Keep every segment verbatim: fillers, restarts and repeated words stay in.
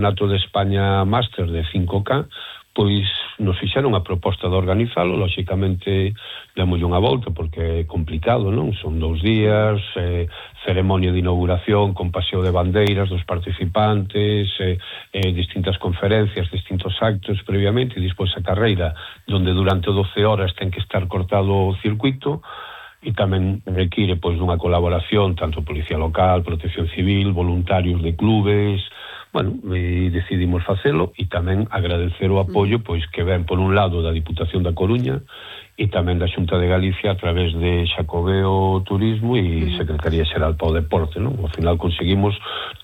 Campeonato de España Máster de cinco K, pois nos fixeron a proposta de organizalo, lóxicamente demos unha volta porque é complicado, non? Son dous días, eh, ceremonia de inauguración con paseo de bandeiras dos participantes, eh, eh, distintas conferencias, distintos actos previamente, e despois a carreira, donde durante doce horas ten que estar cortado o circuito, e tamén require pois dunha colaboración tanto Policía Local, Protección Civil, voluntarios de clubes. Bueno, e decidimos facelo e tamén agradecer o apoio pois que ven por un lado da Diputación da Coruña e tamén da Xunta de Galicia a través de Xacobeo Turismo e Secretaría Xeral para o Deporte, non? Ao final conseguimos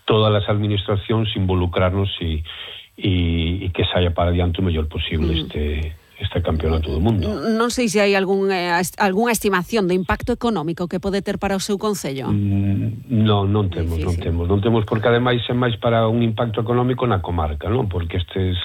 todas as administracións involucrarnos e, e, e que saia para adiante o mellor posible mm. este... este campeonato do mundo. Non sei se hai algún, eh, algunha estimación do impacto económico que pode ter para o seu concello. Mm, non, non temos, non temos, non temos porque ademais é máis para un impacto económico na comarca, non? Porque estes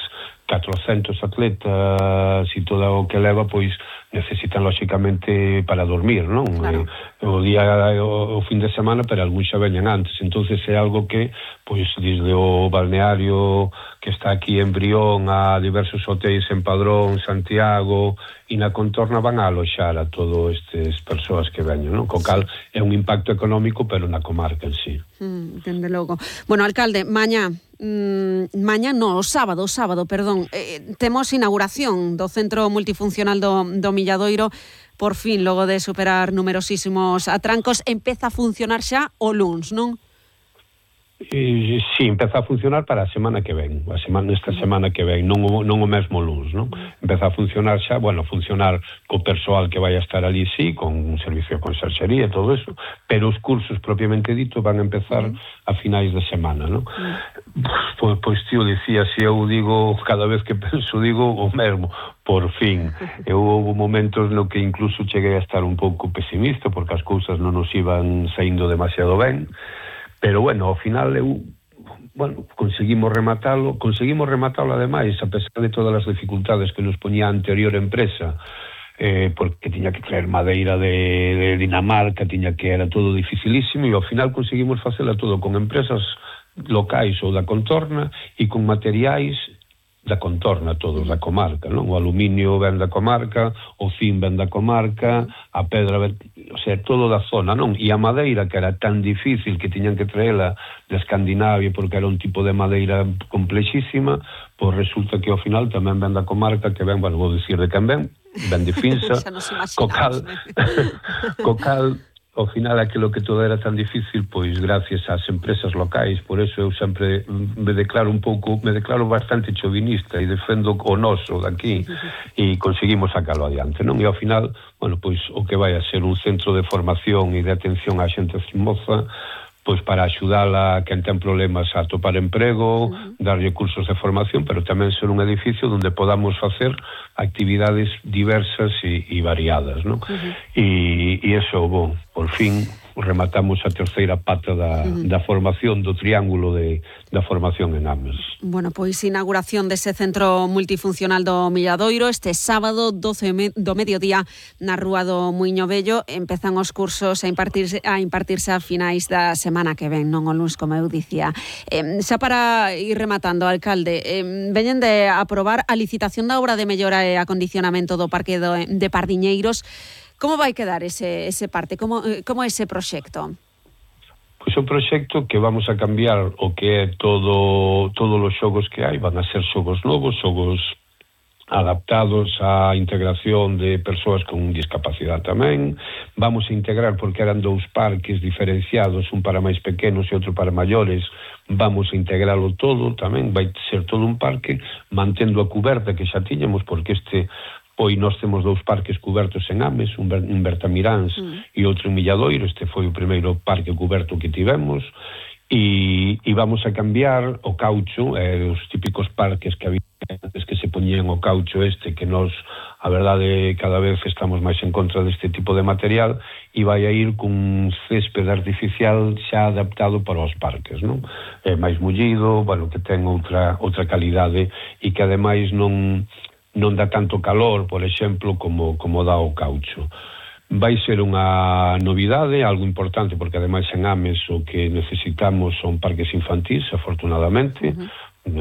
catrocentos atletas e todo o que leva, pois necesitan lóxicamente para dormir, non? Claro. Eh, o día o, o fin de semana, pero algúns xa veñan antes, entonces é algo que pois desde o balneario que está aquí en Brión a diversos hotéis en Padrón, Santiago e na contorna van a aloxar a todo estes persoas que veñen, non? Co cal é un impacto económico, pero na comarca en sí. Mm, dende logo. Bueno, alcalde, mañá mm, mañá no, o sábado, o sábado, perdón, eh, temos inauguración do Centro Multifuncional do, do Milladoiro. Por fin, logo de superar numerosísimos atrancos, empeza a funcionar xa o luns, non? E, sí, empeza a funcionar para a semana que ven, a semana, esta semana que ven, non o, non o mesmo luns, non? Empeza a funcionar xa, bueno, funcionar co persoal que vai a estar ali, sí, con un servicio de conserxería e todo eso, pero os cursos propiamente dito van a empezar a finais de semana, non? Pois, pois tío, dicía, se eu digo, cada vez que penso, digo o mesmo, por fin. Eu houve momentos no que incluso cheguei a estar un pouco pesimista, porque as cousas non nos iban saindo demasiado ben, pero bueno, ao final eu, bueno, conseguimos rematalo, conseguimos rematalo ademais, a pesar de todas as dificultades que nos poñía a anterior empresa, eh, porque tiña que traer madeira de, de Dinamarca, tiña que era todo dificilísimo, e ao final conseguimos facela todo con empresas locais ou da contorna e con materiais da contorna, todos da comarca, non? O aluminio ven da comarca, o zinc ven da comarca, a pedra ven, o sea, todo da zona, non? E a madeira, que era tan difícil que tiñan que traela de Escandinavia porque era un tipo de madeira complexísima, pois resulta que ao final tamén ven da comarca, que ven, bueno, vou dicir de quen ven, ven de Finsa, co cal, co cal, ao final aquilo que todo era tan difícil, pois gracias ás empresas locais, por eso eu sempre me declaro un pouco, me declaro bastante chauvinista e defendo o noso daqui e conseguimos sacalo adiante, non? E ao final, bueno, pois o que vai a ser un centro de formación e de atención á xente moza, pois para axudala a quen ten problemas a atopar emprego, uh-huh. darlle cursos de formación, pero tamén ser un edificio onde podamos facer actividades diversas e, e variadas, non? Uh-huh. E, e eso, bon, por fin rematamos a terceira pata da, uh-huh. da formación, do triángulo de, da formación en Ames. Bueno, pois inauguración dese centro multifuncional do Milladoiro este sábado doce do mediodía na Rúa do Muiño Vello. Empezan os cursos a impartirse a impartirse a finais da semana que ven, non o luns, como eu dicía. Eh, xa para ir rematando, alcalde, eh, veñen de aprobar a licitación da obra de mellora e acondicionamento do Parque do, de Pardiñeiros. Como vai quedar ese, ese parte? Como, como ese proxecto? Pois o proxecto que vamos a cambiar o que é todo todos os xogos que hai, van a ser xogos novos, xogos adaptados á integración de persoas con discapacidade tamén. Vamos a integrar, porque eran dous parques diferenciados, un para máis pequenos e outro para maiores, vamos a integralo todo tamén, vai ser todo un parque, mantendo a cuberta que xa tiñamos, porque este Hoy nós temos dous parques cubertos en Ames, un en Bertamiráns mm. e outro en Milladoiro. Este foi o primeiro parque cuberto que tivemos, e, e vamos a cambiar o caucho, eh, os típicos parques que había antes que se poñían o caucho este, que nós, a verdade, cada vez estamos máis en contra deste tipo de material, e vai a ir cun césped artificial xa adaptado para os parques, non? É máis mullido, bueno, que ten outra outra calidade e que ademais non non dá tanto calor, por exemplo, como, como dá o caucho. Vai ser unha novidade, algo importante, porque ademais en Ames o que necesitamos son parques infantís, afortunadamente, uh-huh. eh,